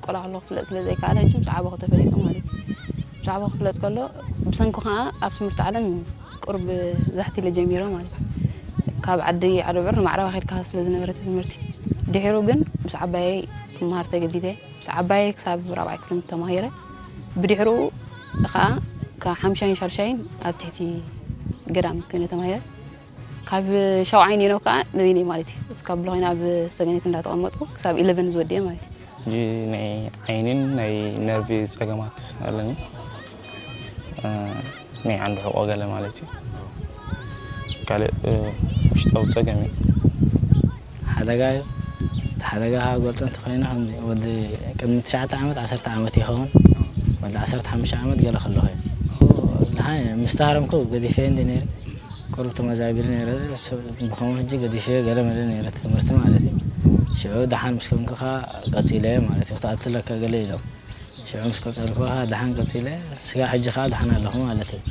ቆልዓ ከሎ ክፍለጥ ስለ ዘይከኣለ ሕጂ ምስ ዓበኹ ተፈሊጡ ማለት እዩ። ምስ ዓበኹ ክፍለጥ ከሎ ብሰንኩ ከዓ ኣብ ትምህርቲ ዓለም ቁሩብ ዛሕቲ ኢለ ጀሚረ ማለት እዩ። ካብ ዓዲ ዓደብዑር ንማዕረባ ከድካ ስለ ዝነበረ እቲ ትምህርቲ ድሒሩ ግን ምስ ዓባየይ ክመሃር ተገዲደ። ምስ ዓባየይ ክሳብ ራብዓይ ክፍሊ ተማሂረ። ብድሕሩ ከዓ ካብ ሓምሻይን ሻድሻይን ኣብ ትሕቲ ገዳም ኮይነ ተማሂረ። ካብ ሻውዓይ ኔኖ ከዓ ንበይነይ ማለት እዩ እስካብ ብሎ ኮይነ ኣብ ሰገኔት እንዳተቐመጥኩ ክሳብ ኢለቨን ዝወድየ ማለት እዩ። ሕጂ ናይ ዓይኒን ናይ ነርቪ ጸገማት ኣለኒ። ናይ ዓንዲ ሕቆ ገለ ማለት እዩ። ካልእ ውሽጣዊ ጸገም እዩ። ሓደጋ እዩ። እቲ ሓደጋ ካብ ገልጾ እንተኾይኑ ከምዚ ወዲ ቅድሚ ትሽዓተ ዓመት ዓሰርተ ዓመት ይኸውን። ወዲ ዓሰርተ ሓሙሽተ ዓመት ገለ ከለኹ እዩ። ደሓን ምስ ተሃረምኩ ገዲፈ እንዲ ነይረ። ቁሩብ ተመዛቢሉ ነይረ። ብኸምኡ ሕጂ ገዲፈ ገለ መለ ነይረ እቲ ትምህርቲ ማለት እዩ። ሽዑ ደሓን ምስ ኮንኩ ከኣ ቀጺለ ማለት እዩ። ክትኣቱ ኣለካ ገለ ኢሎም። ሽዑ ምስ ቀጸልኩ ከኣ ደሓን ቀጺለ። ስጋዕ ሕጂ ከኣ ደሓን ኣለኹ ማለት እዩ።